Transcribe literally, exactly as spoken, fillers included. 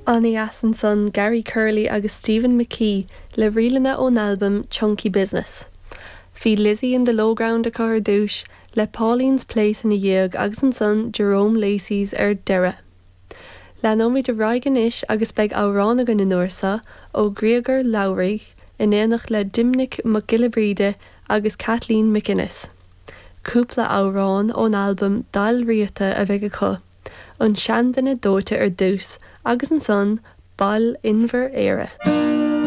An-deas ansan Gary Curley agus Stephen McKee le ríleanna ón albam Chunky Business. Bhí Lizzie in the Lowground acu ar dtús le Pauline's Place ina dhiaidh agus ansan Jerome Lacey's ar deireadh. Leanfaimid ar aghaidh anois agus beidh amhrán againn an uair seo ó Griogair Labhruidh in éineacht le Doimnic Mac Giolla Bhríde agus Kathleen McInnes. Cúpla amhrán ón albam Dal Riata a bheidh acu. An seanduine dóite ar dtús agus ansan Bail Inbhir Éire.